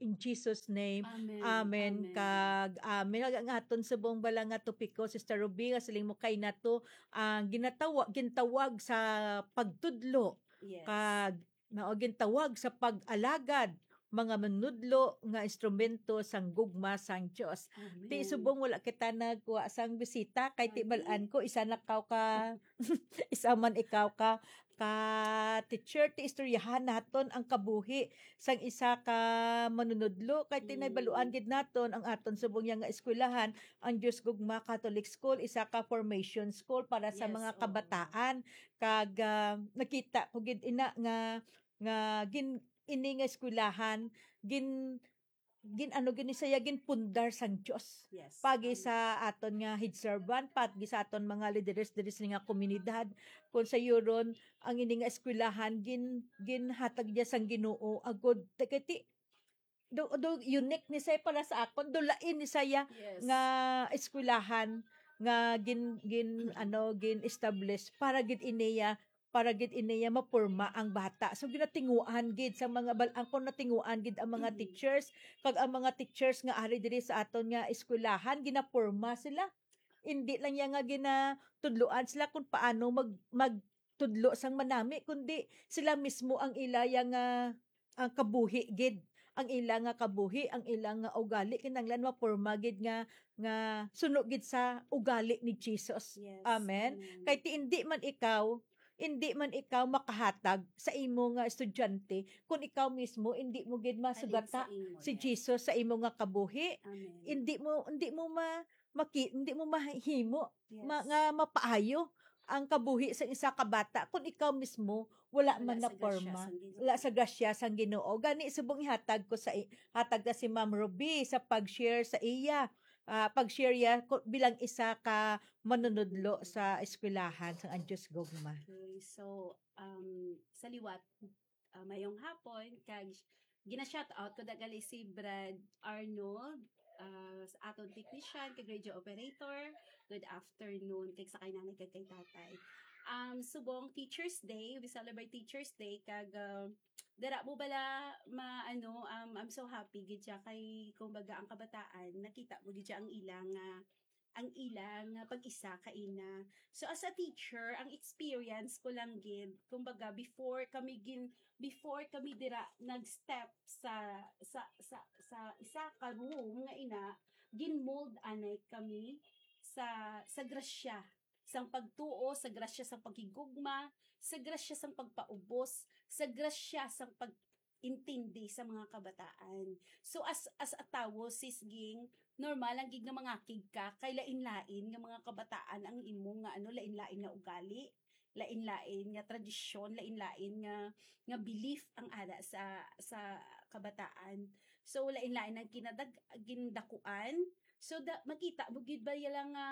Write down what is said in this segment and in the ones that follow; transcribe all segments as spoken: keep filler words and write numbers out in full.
In Jesus' name, Amen. amen. Kag amen. Ang aton subong bala nga topiko, Sister Ruby, nga siling mo kay nato, ang ginatawa, gintawag sa pagtudlo, Yes. kag mao gintawag sa pag-alagad, mga manudlo nga instrumento sang gugma sang Dios. Amen. Ti subong wala kita nagkuha sang bisita, kay ti Ay. Bal-an ko, isa na kaw ka, isa man ikaw ka, ka teacher, ti istoryahan naton ang kabuhi sang isa ka manunudlo, kay ti Mm. nahibaluan gid naton ang aton subong ya nga eskwelahan, ang Dios Gugma Catholic School, isa ka formation school para sa Yes, mga oo. kabataan. Kag ah, nakita ko gid ina nga, nga gin ini nga eskwelahan gin gin ano gid ni siya, ginpundar sang Dios. Yes. Pagi Amen. sa aton nga head servant, pagi sa aton mga lideres diri sa nga komunidad, kung sayuron ang ini nga eskwelahan gin ginhatag niya sang Ginoo agud ti, do, do unique ni siya para sa akon, do lain ni siya Yes. nga eskwelahan nga gin gin ano gin establish para gid iniya, para gid iniya maporma ang bata. So ginatinguan gid sa mga bal-, ang kon natinguan gid ang mga Mhm. teachers, kag ang mga teachers nga ari diri sa aton nga eskwelahan, ginaporma sila. Hindi lang ya nga ginatudloan sila kung paano mag magtudlo sang manami, kundi sila mismo ang ila ya nga ang kabuhi gid, ang ila nga kabuhi, ang ila nga ugali, kinahanglan maporma gid nga nga suno gid sa ugali ni Jesus. Yes. Amen. Kay ti indi man ikaw, indi man ikaw makahatag sa imo nga estudyante kung ikaw mismo indi mo gid Halin masugata sa imo, si yes. Jesus sa imo nga kabuhi. Amen. Hindi mo, hindi mo ma maki, hindi mo mahimo Yes. ma, nga mapaayo ang kabuhi sa isa ka bata kung ikaw mismo wala Wala man sa grasya naporma, sang Ginoo. Wala sa grasya sang Ginoo. Gani subong ihatag ko sa i- hatag na si Ma'am Ruby sa pag-share sa iya, ah, pag-share iya ko, bilang isa ka manunudlo sa eskwelahan sang Anjos Gugma. Okay, so um sa liwat, ah, mayong hapon kag gina-shout out ko dagali si Brad Arnold, ah, sa aton technician kag radio operator. Good afternoon kag sa kay nanay kag kay tatay. Um, subong Teachers Day, we celebrate Teachers Day kag ah, dara mo bala ma ano um, I'm so happy gid siya kay kumbaga ang kabataan nakita mo gid siya ang ilang ah, ang ilang ah, pag-isa kaina. So as a teacher, ang experience ko lang gid kumbaga before kami gin before kami dira nag-step sa sa sa sa isa ka room nga ina, gin-mold anay kami sa sa grasya sang pagtuo, sa grasya sang paghigugma, sa grasya sang pagpaubos, sa grasya sang pag-intindi sa mga kabataan. So as as a tawo, Sis Ging, normal lang gid nga mangakig ka kay lain-lain nga mga kabataan ang imo nga ano, lain-lain nga ugali, lain-lain nga tradisyon, lain-lain nga nga belief ang ara sa sa kabataan. So lain-lain ang kinadag gindakuan. So da, makita mo gid ba yala nga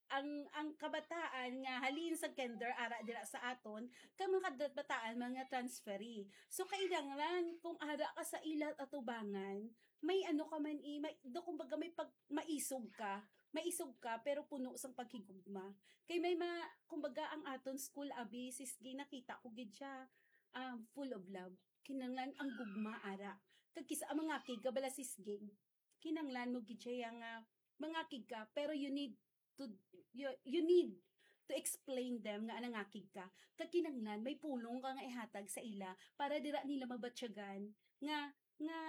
ang ang kabataan nga halin sa kinder ara dira sa aton kay mga kabataan mga transferee. So kailangan kung ara ka sa ila atubangan, may ano ka man i may do kumbaga may pag maisog ka, maisog ka pero puno sang paghigugma. Kay may ma kumbaga ang aton school abi Sis Ging nakita ko gid siya um, full of love. Kinanglan ang gugma ara. Kag kisa ang mga kig kabala Sis Ging, kinanglan mo gid siya nga mangakig ka pero you need to you, you need to explain them nga nangakig ka kag kinanglan may pulong ka nga ihatag sa ila para dira nila mabatyagan nga nga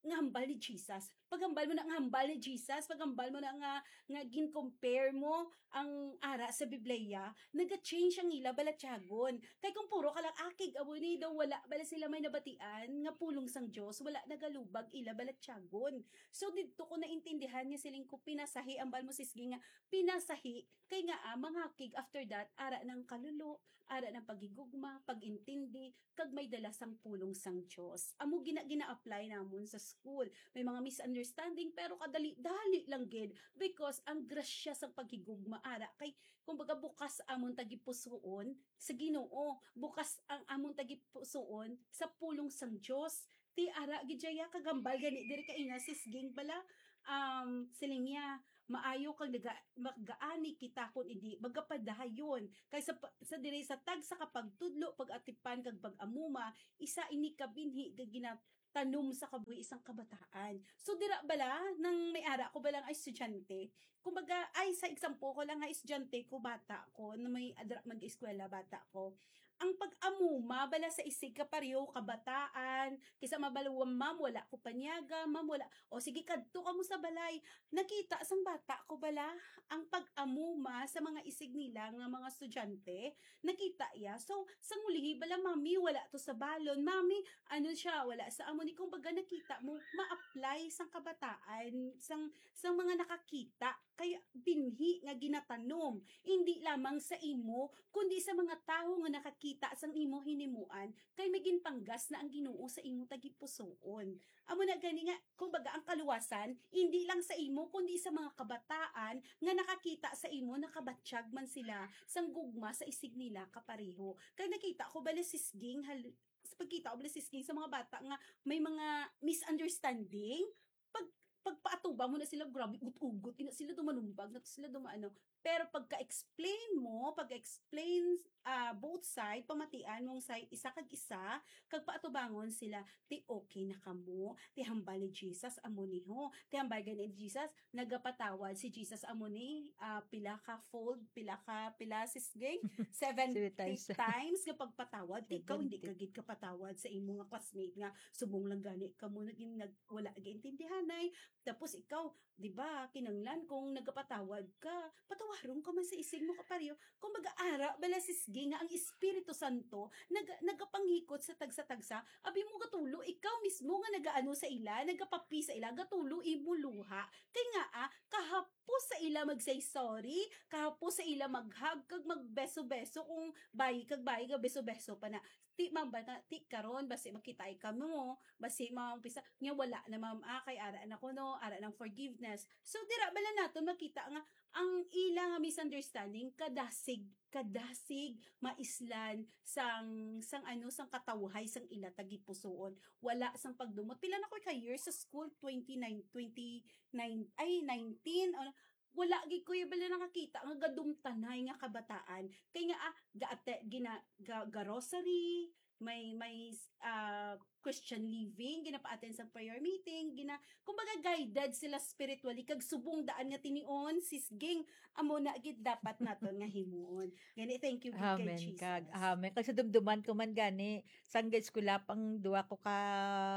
nga hambal ni Jesus. Paghambal mo na nga hambal ni Jesus, paghambal mo na nga nga gin-compare mo ang ara sa Biblia, naga-change ang ila balatyagon. Kay kung puro ka lang akig amo ni daw wala bala sila may nabatian nga pulong sang Dios, wala nagalubag ila balatyagon. So didto ko naintindihan nga siling ko pinasahi ang balmo sisgi nga pinasahi kay nga ah, mangakig after that ara nang kalulo, ara nang paghigugma, pag-intindi, kag may dala sang pulong sang Dios. Amo gina gina-apply namon sa school. May mga misunderstanding pero kadali-dali lang gid because ang grasya sang paghigugma ara kay kumbaga bukas amon tagipusoon sa Ginoo, bukas ang amon tagipusoon sa pulong sang Dios. Ti ara gid siya kagambal gani diri ka ina sisging bala um siling niya maayo kag naga, magaani kita kun hindi magapadayon kay sa, sa diri sa tagsa ka pagtudlo pag-atipan kag pag-amuma isa ini ka binhi nga gina tanom sa kabuhi sang kabataan. So, dira bala, nang may ara ko bala nga estudyante, kumbaga, ay, sa example ko lang nga estudyante ko, bata ko, na may adra mag-eskwela, bata ko. Ang pag-amuma bala sa isig ka pareho, kabataan, kisa mabaluwang, "Ma'am, wala ko panyaga, ma'am, wala." O, sige, kadto kamo sa balay. Nakita sang bata ko bala ang pag-amuma sa mga isig nila nga mga estudyante. Nakita iya. So, sang ulihi bala, "Mami, wala to sa balon. Mami, ano siya, wala sa amo ni." Kumbaga, nakita mo, ma-apply sang kabataan, sang, sang mga nakakita. Kay binhi nga ginatanom, hindi lamang sa imo, kundi sa mga tawo nga nakakita sang imo hinimuan, kay may ginpanggas na ang Ginoo sa imo tagipusoon. Amo na gani nga, kumbaga, ang kaluwasan, hindi lang sa imo, kundi sa mga kabataan nga nakakita sa imo, nakabatyag man sila sang gugma sa isig nila kapareho. Kay nakita ko bala, Sis Ging, hal-, sa pagkita ko bala, Sis Ging, sa mga bata nga may mga misunderstanding, pag, pagpaatubang mo na sila, grabe, ugot-ugot, ina sila dumanumbag, na sila dumaano. Pero pagka-explain mo, pag-explain, ah, both side, pamatian mong side, isa kag isa, kag paatubangon sila, ti okay na kamo, ti hambal ni Jesus, amo ni ho, ti hambal gani ni Jesus, nagapatawad si Jesus, amo ni, ah, pila ka fold, pila ka, pila, Sis Ging? Seventy Seven times. times nga pagpatawad, ti ikaw hindi Seventy. ka gid kapatawad sa imo nga classmate nga subong lang gani kamo naging nag-, wala gaintindihanay. Tapos ikaw, di ba, kinanglan kung nagapatawad ka, patawaron ka man sa isig mo kapareho. Kumbaga, ara bala, Sis Ging, nga ang Espiritu Santo nag-, nagapanghikot sa tagsa-tagsa. Abi mo, gatulo, ikaw mismo nga nagaano sa ila, nagapapi sa ila, gatulo imo luha. Kay nga, ah, kahapos sa ila mag-say sorry, kahapos sa ila mag-hug, kag magbeso-beso, kung bayi kag bayi, gabeso-beso pa na. Ti, ma'am, ba na, ti, karon, basi magkita kamo, basi maumpisa, nga wala na, ma'am, ah, kay ara na kuno, ara ng forgiveness. So, dira bala naton makita nga ang ila nga misunderstanding kadasig, kadasig maislan sang, sang ano, sang katawhay sang ila tagipusoon. Wala sang pagdumot. Pila na ko ka years sa school? Twenty-nine, twenty-nine, ay, nineteen, ano, wala gid ko bala nakakita nga gadumtanay nga kabataan. Kay nga, ah, gaate-, gina-, ga-, ga-rosary, may, may, ah, Christian living, ginapaten sa prayer meeting, gina-, kumbaga, guided sila spiritually, kag subong daan nga tinion, Sis Ging, amo na gid dapat naton nga himuon. Gani, thank you gid kay Amen, Jesus. Kag, amen. Kag sa dumduman ko man gani, sang eskwela pang duwa ko ka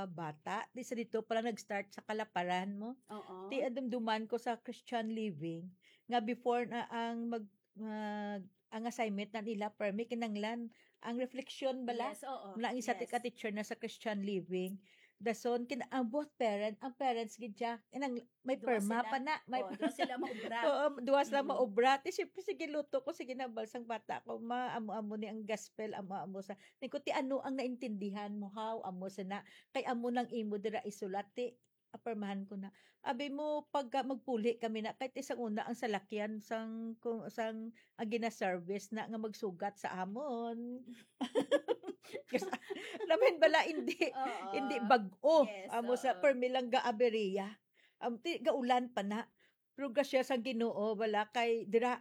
bata, di sa dito pala nag-start sa kalaparan mo. Oo. Ti adumduman ko sa Christian living, nga before na ang mag-, mag-, ang assignment na nila, permi kinanglan, ang reflection bala, Yes, oo. na ang isa Yes. ka teacher na sa Christian living. Dason, kin-, ang both parent, ang parents gid siya, inang, may Duwa perma sila. pa na, may Oo, duwa sila maobra. Oo, duwa sila Mm. maobra. Ti, siyempre, sige, luto ko, sige na, balsang bata ko, ma, amo-amo ni ang gospel, amo-amo sa, ni ko, ti, ano ang naintindihan mo, how, amo sa na, kay amo nang imo dira isulat, ti, apirmahan ko na. Abi mo, pagka magpuli kami na, kahit isang una ang salakyan sang, kung, sang, ang gina-service na nga magsugat sa amon. Kasi, namin bala, hindi, Oo. hindi bag-o. Yes, Amo sa oo. permi lang ga-aberiya. Am, ti, gaulan pa na. Pero grasya sa Ginoo, wala kay dira,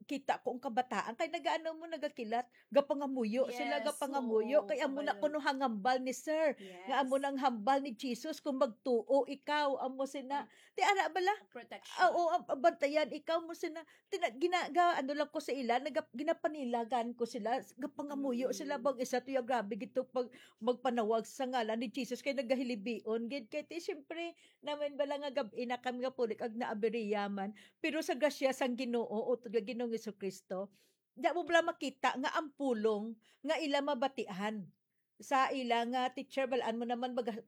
kita ko ang kabataan. Kay nagaano mo, nagakilat. Gapangamuyo sila, Yes, gapangamuyo. oo, Kay amo na kabalo. kuno hangambal ni Sir. Yes. Nga amo nang hambal ni Jesus kung magtuo ikaw. Amo sina. Ang Ti ara bala? protection. Ah, oo, ang, ang bantayan ikaw mo sina. Tina-, gina-, ga-, ano lang ko sa ila, naga-, ginapanilagan ko sila. Gapangamuyo Mm. sila bang isa to, ya, grabe gito pag magpanawag sa ngalan ni Jesus kay nagahilibion gid. Kay ti, siyempre, namin bala nga gab-i na kami nga pulik ag naabiriya man. Pero sa grasya sang Ginoo, utod nga Ginoong Jesucristo, di mo bala makita nga ang pulong nga ila mabatian sa ila nga teacher, balaan mo naman, baga-,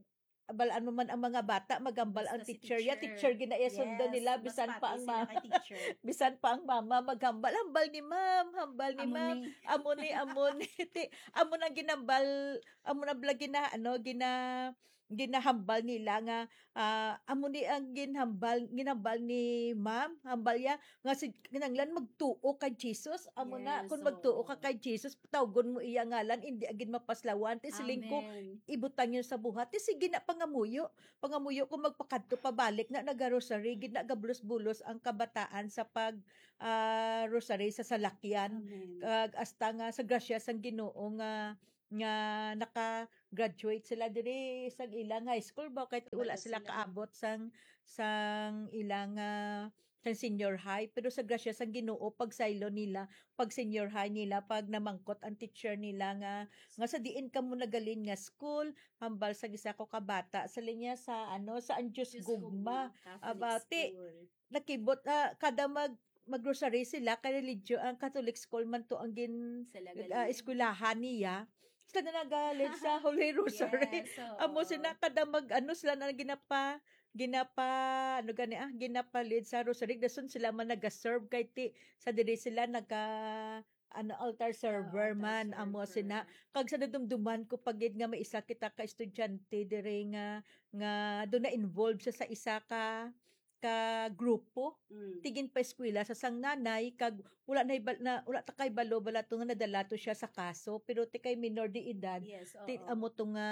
balaan mo man ang mga bata, magambal ang Basta si teacher, ya, teacher. teacher gina iya sundon Yes, nila, mas bisan pa pati ang sila ma-, kay teacher. bisan pa ang mama, maghambal, hambal ni ma'am, hambal ni Amo ma'am, ni. amo ni, amo ni, ti, amo nang ginambal, amo na bala gina, ano, gina, ginahambal nila nga, ah, amo ni ang ginhambal, ginhambal ni ma'am, hambal ya, nga si, kinanglan magtuo kay Jesus, amo na, Yes, kung magtuo ka oo. kay Jesus, tawgon mo iya ngalan, hindi agin mapaslawan, ti siling ko, Amen. ibutang yun sa buhat, ti sige na, pangamuyo, pangamuyo kung magpakadto pabalik na, nagarosary, gid na, gabulos-bulos ang kabataan sa pag, ah, rosary sa salakyan. Amen. Kag hasta nga sa grasya sang Ginoo nga, nga naka-, graduate sila diri sa ilang high school ba, kay wala Wala sila sila. kaabot sang, sang ilang, ah, sang senior high. Pero sa grasya sang Ginoo, pagsaylo nila, pag senior high nila, pag namangkot ang teacher nila nga, nga sa diin kamo nagalin nga school, hambal sa isa ko ka bata, sa linya sa, ano, sa Anjos Diyos Gugma. Gugma, Catholic Aba, ti, school. Nakibot, ah, kada mag, mag-rosary sila, kay religyo, ang Catholic school man to ang gin, Sila ah, galing. eskwelahan niya. Sila na nagalit sa Holy Rosary. Yes, oo. Amo sila, kada mag, ano, sila na ginapa, ginapa, ano gani, ah, ginapalid sa Rosary. Dason sila man nagaserve kay ti, sa diri sila naga, ano, altar Ah, server altar man, amo server. sina. Kag sa nadumduman ko pa gid nga may isa kita ka estudyante diri nga, nga doon na involved siya sa isa ka, ka grupo. Mm. Tigin pa eskwela sa sang nanay, kag wala na, na, wala ta kay balo bala to nga nadala to siya sa kaso, pero ti kay minor de edad, Yes, ti oo. amo to nga,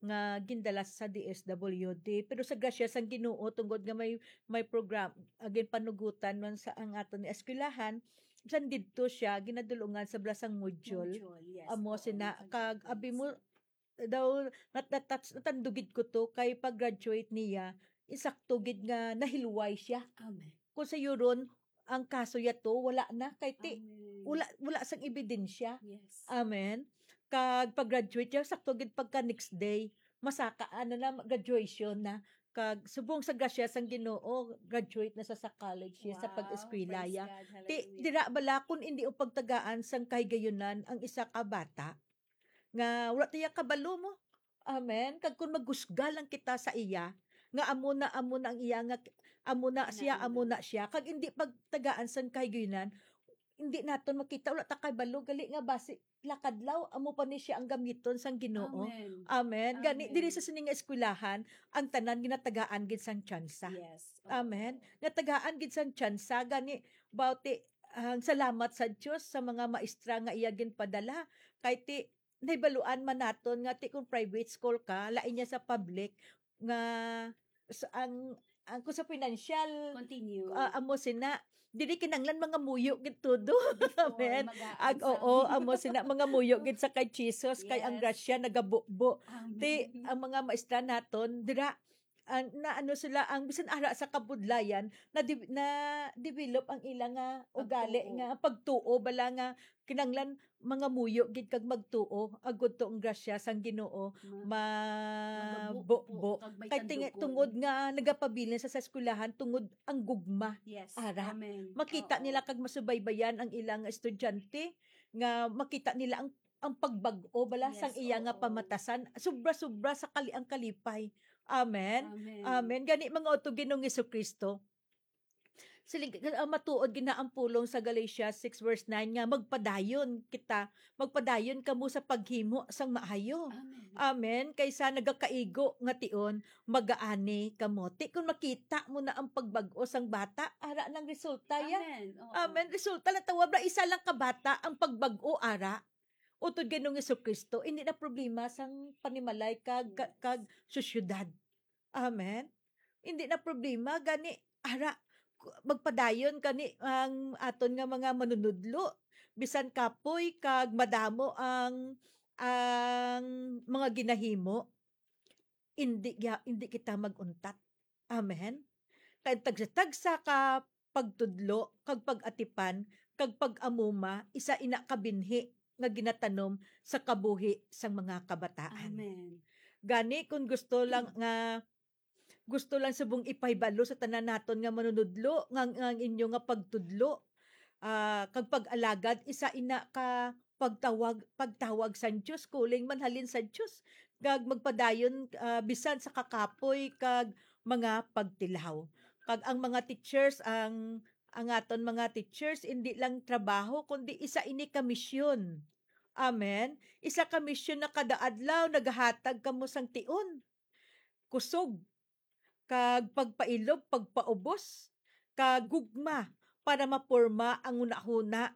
nga gindala sa D S W D. Pero sa grasya sang Ginoo, tungod nga may, may program, again, panugutan man sa ang aton eskwelahan, bisan didto siya ginadulungan sa bala sang module. Module, yes. Amo Oo, sina, ang kag abi mo, graduates. daw, nat-, nat-, nat-, natandugid ko to kay pag-graduate niya, insakto gid nga nahilway siya. Amen. Kung sayuron, ang kaso yato, wala na, kay ti, Amen. wala, wala sang ebidensya. Yes. Amen. Kag pag-graduate niya, sakto gid pagka next day, masaka, ano na, graduation na. Kag subong sa grasya sang Ginoo, graduate na sa, sa college siya, sa Wow, pag-eskwela praise ya. God, Ti, hallelujah. dira bala kung indi o pagtagaan sang kahigayunan ang isa ka bata, nga wala tiya kabalo mo. Amen. Kag kung magusga lang kita sa iya, nga amo na, amo na ang iya, nga amo na siya, Kinahanglan. amo na siya, kag indi pagtagaan sang kahigayunan, hindi naton makita, wala ta kabalo, gali nga basi lakadlaw, amo pa ni siya ang gamiton sang Ginoo. Amen. Amen. Gani, Amen. diri sa sini nga eskwelahan, ang tanan ginatagaan gid sang tsansa. Yes. Oo. Amen. Nga tagaan gid sang tsansa, gani, bawti, ang salamat sa Dios sa mga maestra nga iya ginpadala. Kay ti, nahibaluan man naton nga ti kung private school ka, lain niya sa public, nga sa, ang, ang kung sa financial, Continue. ah, amo sina, dili kinanglan mga muyo gid todo. Before, Amen. mag-aag Ag, sa oo, amo sina, mga muyo gid sa kay Jesus, kay ang Yes. grasya nagabubo. Amen. Ti, ang mga maestra naton, dira, ang, na ano sila, ang bisan ara sa kabudlayan, na di-, na develop ang ila nga ugali Pagtuo. nga pagtuo, bala nga kinanglan mga muyo gid kag magtuo, agud to ang grasya sang Ginoo, Ma-, ma-, mabubo, bubo, kag may kay ting-, tandukon. tungod nga nagapabilin sa, sa eskwelahan, tungod ang gugma. Yes. Ara. Amen. Makita Oo. nila kag masubaybayan ang ilang estudyante, nga makita nila ang, ang pagbag-o bala Yes, sang iya nga oo. pamatasan. Sobra-sobra sa kali-, ang kalipay. Amen. Amen. Amen. Gani, mga utod Ginoong Jesucristo, siling, ah, matuod gid na ang pulong sa Galatia six verse nine nga magpadayon kita, magpadayon kamo sa paghimo sang maayo. Amen. Amen. Kaysa nagakaigo nga tion, magaani kamo. Ti, kung makita mo na ang pagbag-o sang bata, ara nang resulta ya. Amen. Oo. Amen. Resulta na tawag na isa lang ka bata ang pagbag-o ara. Utod Ginoong Jesucristo, hindi na problema sang panimalay kag, ka-, Yes. kag sosyedad. Amen. Hindi na problema gani, ara, ku-, magpadayon kani ang aton nga mga manunudlo, bisan kapoy kag madamo ang, ang mga ginahimo, hindi ya-, hindi kita mag-untat. Amen. Kay tagsa-tagsa ka pagtudlo kag pag-atipan kag pag-amuma, isa ina ka binhi nga ginatanom sa kabuhi sang mga kabataan. Amen. Gani, kung gusto lang nga, gusto lang subong ipahibalo sa tanan naton nga manunudlo, nga, nga ang inyo nga pagtudlo, ah, kag pag-alagad, isa ina ka pagtawag, pagtawag sang Dios, calling man halin sa Dios, kag magpadayon, ah, bisan sa kakapoy kag mga pagtilaw. Kag ang mga teachers, ang, ang aton mga teachers, indi lang trabaho, kundi isa ini ka misyon. Amen. Isa ka misyon na kada adlaw nagahatag kamo sang tion, kusog, kag pagpailob, pagpaubos, kag gugma para maporma ang hunahuna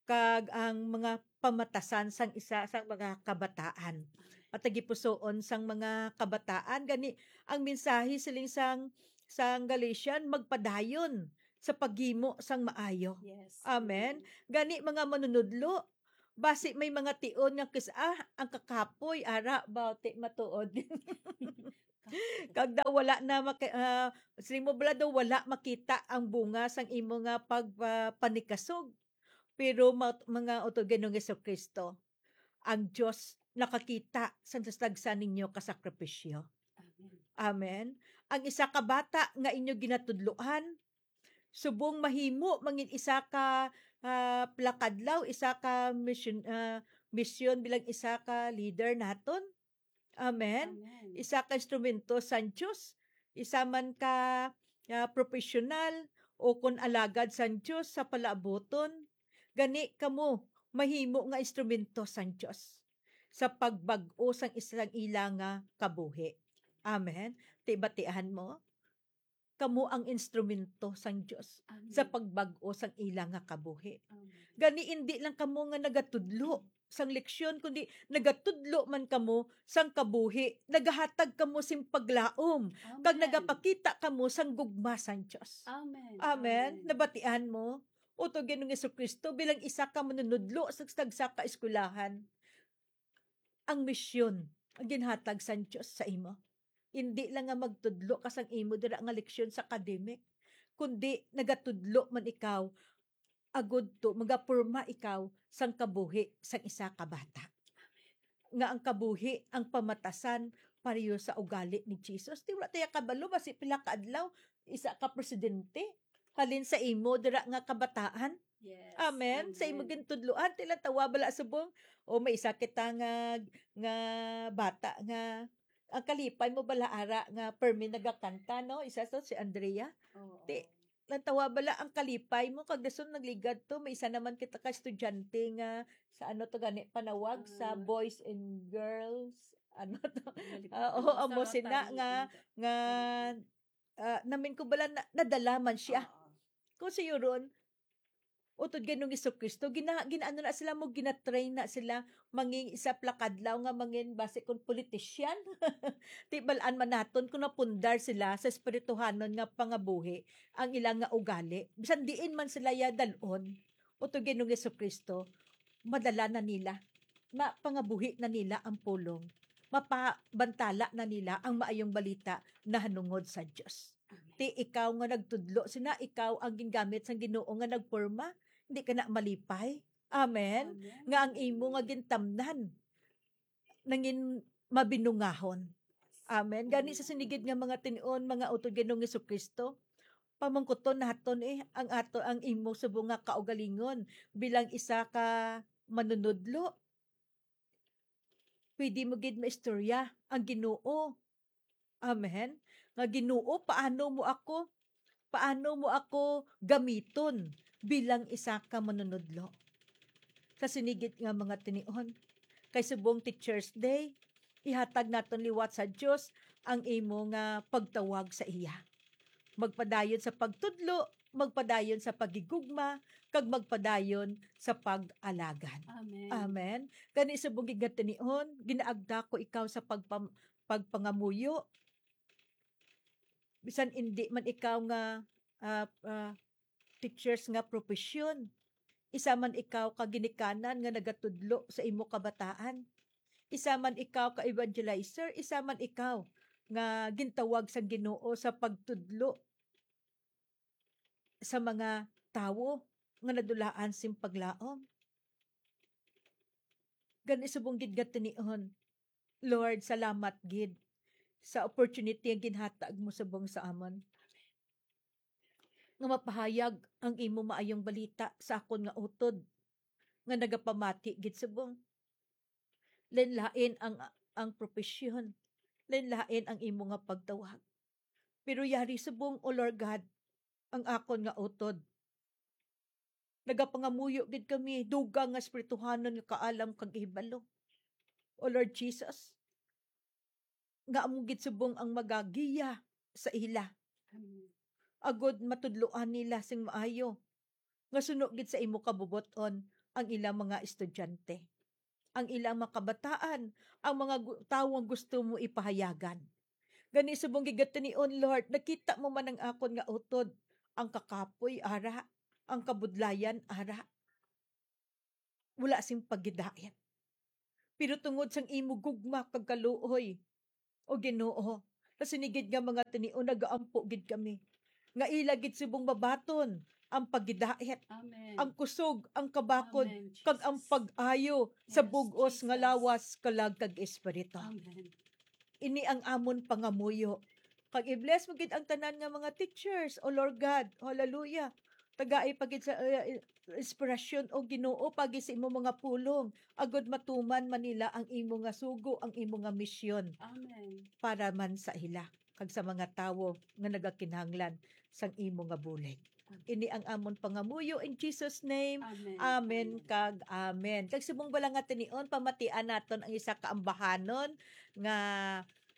kag ang mga pamatasan sang isa sang mga kabataan. Patagipusoon sang mga kabataan, gani ang mensahe siling sang, sang Galatian, magpadayon sa paghimo sang maayo. Yes. Amen. Gani, mga manunudlo, Basi may mga tion nga kis-, ah, ang kakapoy, ara, ba, ti matuod. Kag daw wala na maki-, ah, siling mo bala daw wala makita ang bunga sang imo nga pag-, ah, panikasog. Pero ma-, mga utod Ginoong Jesu-Cristo, ang Dios nakakita sa tagsa ninyo ka sakripisyo. Amen. Amen. Ang isa ka bata nga inyo ginatudloan, subong mahimo mangin isa ka, ah, plakadlaw, isa ka misyon, ah, misyon bilang isa ka leader naton. Amen. Amen. Isa ka instrumento sang Dios, isa man ka, ah, professional o kon alagad sang Dios sa palaabuton. Gani kamo mahimo nga instrumento sang Dios sa pagbag-o sang isang ila nga kabuhi. Amen. Ti batian mo? Kamo ang instrumento sang Dios sa Amen. pagbag-o sang ila nga kabuhi. Amen. Gani, indi lang kamo nga nagatudlo sang leksyon, kundi nagatudlo man kamo sang kabuhi, nagahatag kamo sing paglaom, kag Amen. nagapakita kamo sang gugma sang Dios. Amen. Amen. Amen. Nabatian mo? Utod Ginoong Jesu-Cristo bilang isa ka manunudlo sa tagsa ka eskwelahan. Ang misyon ang ginhatag sang Dios sa imo. Indi lang nga magtudlo ka sang imo dira nga leksyon sa academic, kundi nagatudlo man ikaw agud to magaporma ikaw sang kabuhi sang isa ka bata. Nga ang kabuhi ang pamatasan pareho sa ugali ni Jesus. Di wala tayo kabalo, basi pila ka adlaw, isa ka presidente, halin sa imo dira nga kabataan. Yes. Amen. Sa imo Amen. gintudloan, tila tawa bala subong. O may isa kita nga, nga bata nga ang kalipay mo bala ara nga permi nagakanta, no? Isa to si Andrea. Oo. Ti, lang tawa bala ang kalipay mo kag dason nagligad to. May isa naman kita ka estudyante nga sa ano to gani panawag sa Ah. boys and girls. Ano to? Balik Ah, ko. oo, amo Sa sina Rotary nga, Inter- nga, ah, namin ko bala na, nadala man siya. Oo. Kung siyo ron, utod Ginoong Jesu-Cristo, gina-, ginaano na sila mo, ginatrain na sila mangin isa plakadlaw nga mangin basi kon politician. Ti bal-an man naton kung napundar sila sa espirituhanon nga pangabuhi ang ila nga ugali. Bisan diin man sila ya dal-on, utod Ginoong Jesu-Cristo, madala na nila, mapangabuhi na nila ang pulong, mapabantala na nila ang maayong balita nahanungod sa Dios. Amen. Ti ikaw nga nagtudlo sina, ikaw ang gingamit sang Ginoo nga nagporma, hindi ka na malipay. Amen. Amen. Nga ang imo nga gintamnan nangin mabinungahon. Amen. Gani sa sinigid nga mga tinion, mga utod Ginoong Jesu-Cristo, pamangkuton naton, eh, ang ato, ang imo subong nga kaugalingon bilang isa ka manunudlo. Pwede mo gid maistorya ang Ginoo. Amen. Nga, "Ginoo, paano mo ako, paano mo ako gamiton bilang isa ka manunudlo?" Sa sinigid nga mga tinion, kay subong Teacher's Day, ihatag naton liwat sa Dios ang imo nga pagtawag sa iya. Magpadayon sa pagtudlo, magpadayon sa paghigugma, kag magpadayon sa pag-alagad. Amen. Amen. Gani subong gid nga tinion, ginaagda ko ikaw sa pagpam-, pagpangamuyo. Bisan indi man ikaw nga, ah, ah, teachers nga profesyon, isa man ikaw ka ginikanan nga nagatudlo sa imo kabataan, isa man ikaw ka evangelizer, isa man ikaw nga gintawag sang Ginoo sa pagtudlo sa mga tawo nga nadulaan sing paglaom. Gani subong gid nga tinion, Lord, salamat gid sa opportunity nga ginhatag mo subong sa amon, nga mapahayag ang imo maayong balita sa akon nga utod, nga nagapamati gid subong. Lain-lain ang, ang propesyon, lain-lain ang imo nga pagtawag. Pero yari subong, O Lord God, ang akon nga utod. Nagapangamuyo gid kami, dugang nga espirituhanon nga kaalam kag hibalo, O Lord Jesus, nga amo gid subong ang magagiya sa ila. Amen. Agod matudloan nila sing maayo nga suno gid sa imo kabubot-on ang ilang mga estudyante, ang ilang mga kabataan, ang mga gu-, tawo nga gusto mo ipahayagan. Gani subong gid nga tinion, Lord, nakita mo man ang akon nga utod, ang kakapoy ara, ang kabudlayan ara. wala sing pagidait. Pero tungod sang imo gugma kag kaluoy, O Ginoo, sa sinigid nga mga tinion nagaampo gid kami nga ila gid subong mabaton ang pagidait, Amen. ang kusog, ang kabakod, Amen, kag ang Jesus. pag-ayo sa Yes, bug-os nga Jesus. lawas, kalag, kag espiritu. Amen. Ini ang amon pangamuyo. Kag i-bless mo gid ang tanan nga mga teachers, O Lord God. Hallelujah. Tagai pa gid sa, uh, inspirasyon, O Ginoo, pagi sa imo mga pulong, agod matuman man nila ang imo nga sugo, ang imo nga misyon Amen. para man sa ila kag sa mga tawo nga nagakinahanglan sang imo nga bulig. Amen. Ini ang amon pangamuyo in Jesus' name. Amen. Amen Amen. kag amen. Kag subong bala nga tinion, pamatian naton ang isa ka ambahanon nga,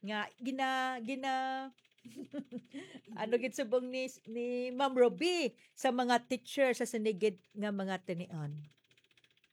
nga gina-, gina-, ano gid subong ni, ni Ma'am Ruby sa mga teacher sa sinigid nga mga tinion.